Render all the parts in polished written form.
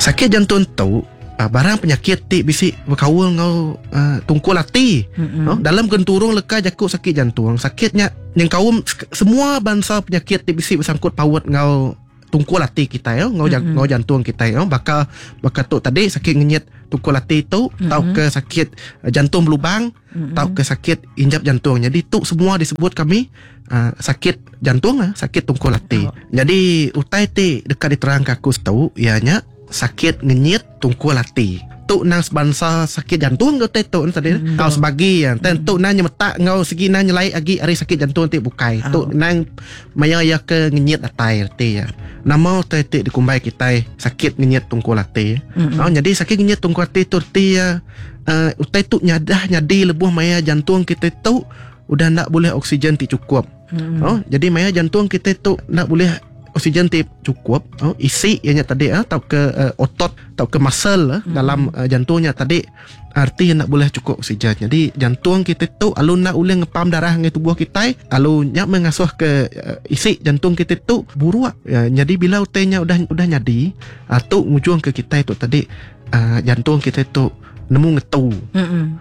Sakit jantung tu barang penyakit ti bisi bekaul enggau tungkul ati. Dalam genturung leka jaku sakit jantung, sakit nya nyengkaum semua bansa penyakit ti bisi besangkut paut enggau tungkul ati kitai enggau enggau jantung kitai baka baka tu tadi sakit ngenyit tungkul ati tu tauka sakit jantung belubang tauka sakit injap jantung. Nyadi tu semua disebut kami sakit jantung sakit tungkul ati. Nyadi utai ti deka diterangka aku tu iya nya sakit ngenyit tungkul ati. Tu nang sebansa sakit jantung ke utai tu tadi tau sebagi iya. Tang tu nang nyemetak enggau segi nang nyelai agi ari sakit jantung ti bukai. Tu nang maya iya ke ngenyit datai reti iya. Nama utai ti dikumbai kitai sakit ngenyit tungkul ati. Nyadi sakit ngenyit tungkul ati tu reti iya utai tu nyadah nyadi lebuh maya jantung kitai tu udah enda bulih oksigen ti chukup. Jadi maya jantung kitai tu enda bulih oksigen ti chukup, isi iya nya tadi tauka otot tauka muscle dalam jantung nya tadi arti enda bulih chukup oksigen. Jadi jantung kitai tu lalu enda ulih ngepam darah ngagai tubuh kitai lalu nya meh ngasuh ke isi jantung kitai tu buruk. Nyadi bila utai nya udah udah nyadi tu ngujung ke kitai tu tadi jantung kitai tu nemu ngetu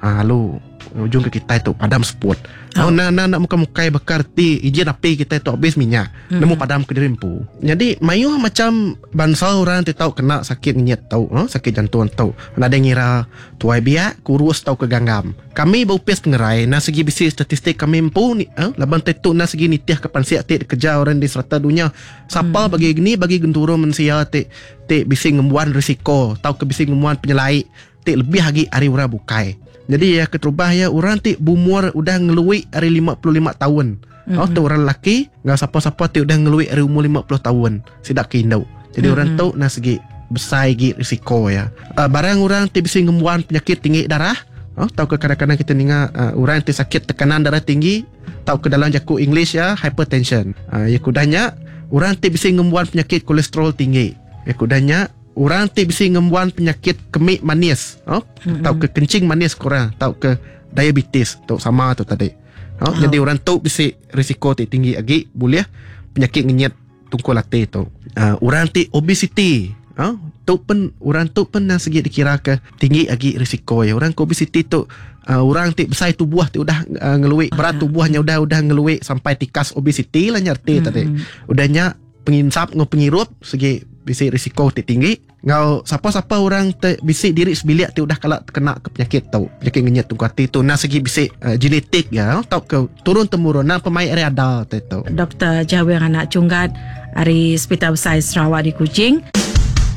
lalu ngujung ke kitai tu padam seput. Oh. Enda enda enda mukai-mukai baka reti ijin api kitai tu habis minyak nemu padam kediri empu. Nyadi mayuh macam bansa orang ti tau kena sakit ngenyit tu, sakit jantung tu. Nadai ngira tuai biak, kurus tauka ganggam. Kami ba opis pengerai enda sigi bisi statistik kami empu laban ti tu enda sigi nitihka pansik ti dikereja orang di serata dunya. Sapa bagi ni bagi genturung mensia ti ti bisi ngembuan risiko tauka bisi ngembuan penyelai ti lebih agi ari orang bukai. Nyadi iya keterubah iya orang ti beumur udah ngelui ari 55 taun. Mm-hmm. Oh, tu orang lelaki enggau sapa-sapa ti udah ngelui ari umur 50 taun sida ke indu. Jadi mm-hmm. orang tu nah segi besai agi risiko iya. Barang orang ti bisi ngembuan penyakit tinggi darah, oh, tauka kadang-kadang kita ninga orang ti sakit tekanan darah tinggi tauka dalam jaku English iya hypertension. Iya ke udah nya orang ti bisi ngembuan penyakit kolesterol tinggi. Iya ke udah nya Orang ti bisi ngembuan penyakit kemi manis oh, mm-hmm. tauka kencing manis kurang tauka diabetes tu sama tu tadi. Oh, oh. Jadi orang tu bisi risiko ti tinggi agi bulih penyakit ngenyit tungkul ati tu. Orang ti obesiti oh, tu pen orang tu pen nang segi dikira ke tinggi agi risiko ya. Orang ke obesiti tu orang ti besai tubuh ti udah ngelui berat tubuhnya udah udah ngelui sampai tikas obesiti lah nya reti mm-hmm. tadi. Udah nya penginsap enggau pengirup sigi bisi risiko ti tinggi enggau sapa-sapa orang ti bisi diri sebilik ti udah kala tekena ke penyakit tu penyakit ngenyit tungku ati tu endang sigi bisi genetik iya tauka turun temurun endang pemai ari ada ti tu. Doktor Jawing Anak Chunggat ari Sepital Besai Sarawak di Kuching.